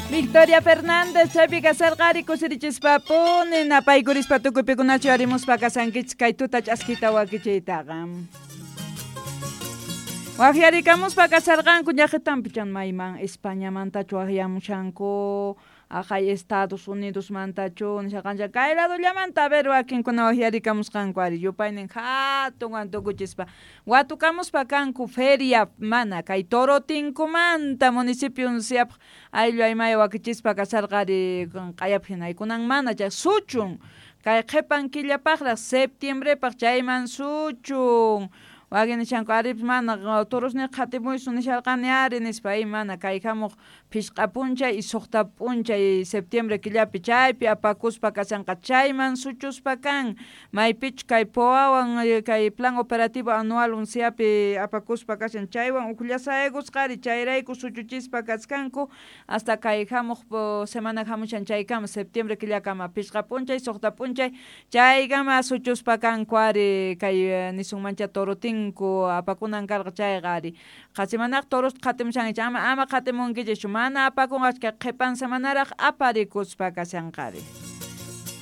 Victoria Fernández chaypi kasarqari kusirichispapuni napaykurispa tukuypikunachu arimuspa kasankichis kay tuta ch'askita wakichiytaqa. Waqyarikamuspa kasarqanku llaqitanpi chan mayman Españamantachu waqyamushanku aqay Estados Unidosmantachu nisharqanchik kay ladollamanta a ver wakinkuna waqyarikamusqanku ari yupaynin hatunwan tukuchispa watukamuspa kanku feria mana kay Torotinkumanta municipio unciapaq ayllu aymaya wakichispa kasarqa ari q'ayapaq hina kunan mana chay suchun kay qhipan killapaqraq septiembrepaq chayman suchun wakin nishanku aripis mana torosniqa qhatimuysun nisharqani ari nispa y mana kay hamuq phishqa p'unchay y suqta p'unchay septiembre killapi chaypi apakuspa kashanqa chayman suchuspa kan maypichu kay POAwan kay plan operativo anual unciapi apakuspa kashan chaywan uqllasaykusqa ari chayrayku suchuchispa kachkanku hasta kay hamuq semana hamushan chaykama septiembre killakama phishqa p'unchay suqta p'unchay chaykama suchuspa kanku ari kay nisunmancha Torotinku apakunan karqa chayqa ari qasimanaq torosta qhatimushankichik ama ama qhatimunkichischu mana apakunqachu kay qhipan semanaraq aparikuspa kashanqari.